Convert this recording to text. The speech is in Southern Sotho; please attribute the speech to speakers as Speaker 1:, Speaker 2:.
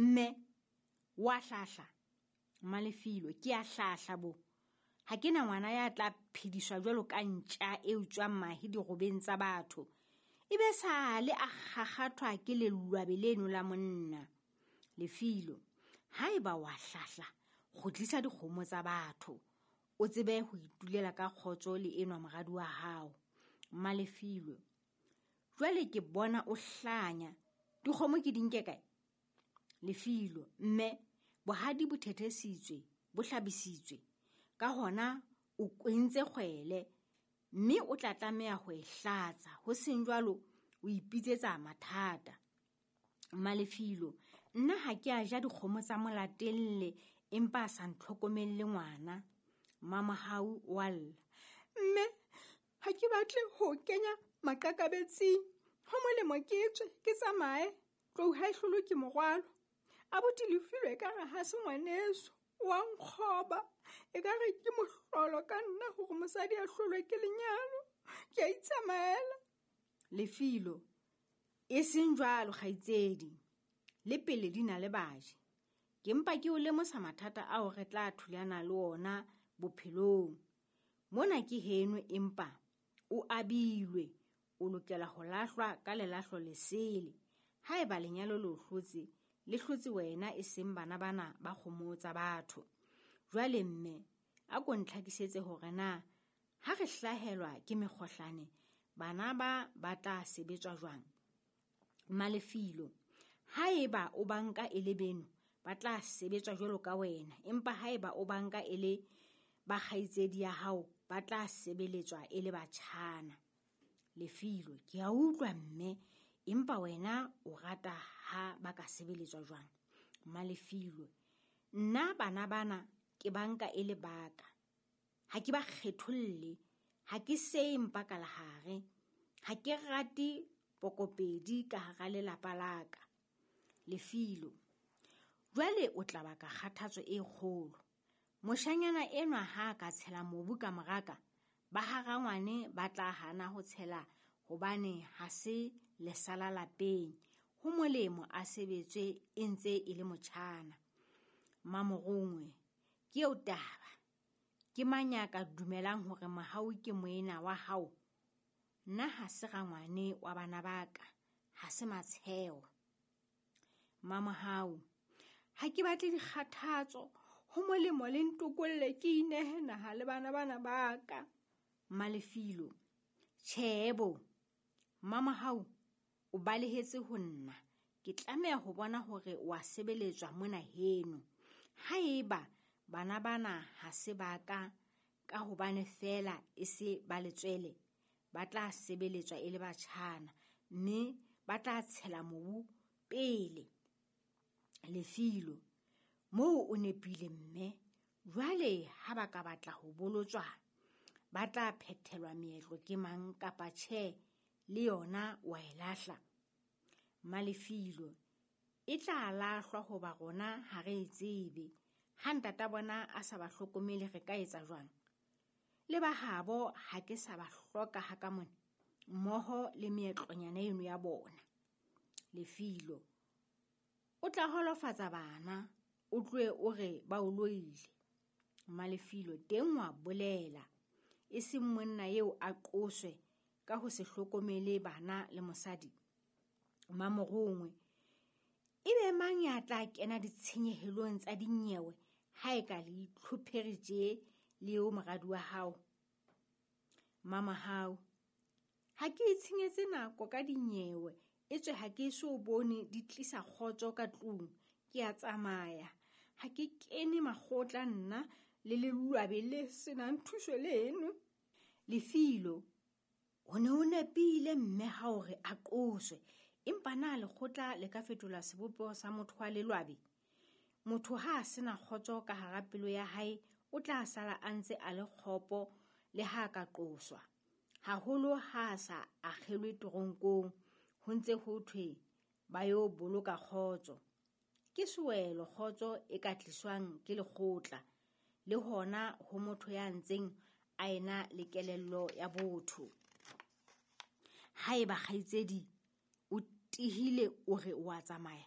Speaker 1: Mme, wa hlahla? Mmalefilwe, ke a hlahla bo. Ha ke na ngwana ya tla phediswa jwalo ka ntja e utswang mahe dirobeng tsa batho. E be sale a kgakgathwa ke lelwabe leno la monna. Lefilo, haeba wa hlahla, kgutlisa dikgomo tsa batho. O tsebe ho itulela ka kgotso le enwa moradi wa hao. Mmalefilwe, jwale ke bona o hlanya. Dikgomo ke di nke kae? Lefilo, mme bohadi bo thethesitswe, bo hlabisitswe. Ka hona o kwentse kgwele, mme o tla tlameha ho e hlatsa. Ho seng jwalo, o ipitsetsa mathata. Mmalefilo, nna ha ke a ja dikgomo tsa molatelle empa a sa ntlhokomelle ngwana. Mmamohau wa lla. Mme, ha ke batle ho kenya maqakabetsing. Ho molemo ke tswe, ke tsamaye. Tlou ha e hlolwe ke morwalo. Abuti Lefilo ekare ha se ngwaneso, wa nkgoba. Ekare ke mohlolo ka nna hore mosadi a hlolwe ke lenyalo. Ke a itsamaela. Lefilo, e seng jwalo kgaitsedi. Le pele di na le baji. Ke mpa ke o lemosa mathata ao re tla thulana le ona bophelong. Mona ke heno empa o abilwe, o lokela ho lahlwa ka lelahlo lesele. Haeba lenyalo le o hlotse, le hlotse wena e seng bana bana ba kgomo tsa batho. Jwale mme, a ko ntlhakisetse hore na ha re hlahelwa ke mekgohlane, bana ba ba tla sebetswa jwang? Mmalefilo, haeba o banka e le beno, ba tla sebetswa jwalo ka wena, empa haeba o banka e le ba kgaitsedi ya hao, ba tla sebeletswa e le batjhana. Lefilo, ke a utlwa mme, empa wena o rata ha ba ka sebeletswa jwang? Mmalefilo, nna bana bana ke banka e le baka. Ha ke ba kgetholle, ha ke seye mpa ka lehare, ha ke rate pokopedi ka hara lelapa la ka. Lefilo, jwale o tla baka kgathatso e kgolo. Moshanyana enwa ha ka tshela mobu ka moraka, ba ha rangwane ba tla hana ho tshela hobane ha se lesala lapeng. Ho molemo a sebetswe e ntse e le motjhana. Mmamorongwe, ke eo taba. Ke mang ya ka dumelang hore Mohau ke moena wa hao? Nna ha se rangwane wa bana ba ka, ha se matsheo. Mmamohau, ha ke batle dikgathatso, ho molemo le ntokolle ke inehe naha le bana bana ba ka. Mmalefilo, tjhe bo. Mmamohau, o balehetse ho nna. Ke tlameha ho bona hore wa sebeletswa mona heno. Haeba bana bana ha se ba ka, ka hobane feela e se ba letswele, ba tla sebeletswa e le batjhana, mme ba tla tshela mobu pele. Lefilo, moo o nepile mme, jwale ha ba ka batla ho bolotswa, ba tla phethelwa meetlo ke mang kapa tjhe, le yona wa e lahla. Mmalefilo, e tla lahlwa hoba rona ha re e tsebe. Ha ntata bona a sa ba hlokomele re ka etsa jwang? Le ba habo ha ke sa ba hloka ha ka mona, mmoho le meetlonyana eno ya bona. Lefilo, o tla holofatsa bana, o tlohe o re ba o loile. Mmalefilo, teng wa bolela, e seng monna eo a qoswe ka ho se hlokomele bana le mosadi. Mmamorongwe, ebe mang ya tla kena ditshenyehelong tsa dinyewe ha e ka le itlhophere tje le eo moradi wa hao? Mmamohau, ha ke itshenyetse nako ka dinyewe, etswe ha ke eso bone di tlisa kgotso ka tlung, ke a tsamaya. Ha ke kene makgotla nna le lelwabe le senang thuso leno. Lefilo, ho ne ho nepile mme ha hore a qoswe, empa na lekgotla le ka fetola sebopeho sa motho wa lelwabe? Motho ha a sena kgotso ka hara pelo ya hae, o tla sala a ntse a le kgopo le ha ka qoswa. Haholo ha a sa akgelwe teronkong, ho ntse ho thwe ba yo boloka kgotso. Ke sewelo kgotso e ka tliswang ke lekgotla, le hona ho motho ya ntseng a ena le kelello ya botho. Haeba kgaitsedi o tihile o re o a tsamaya,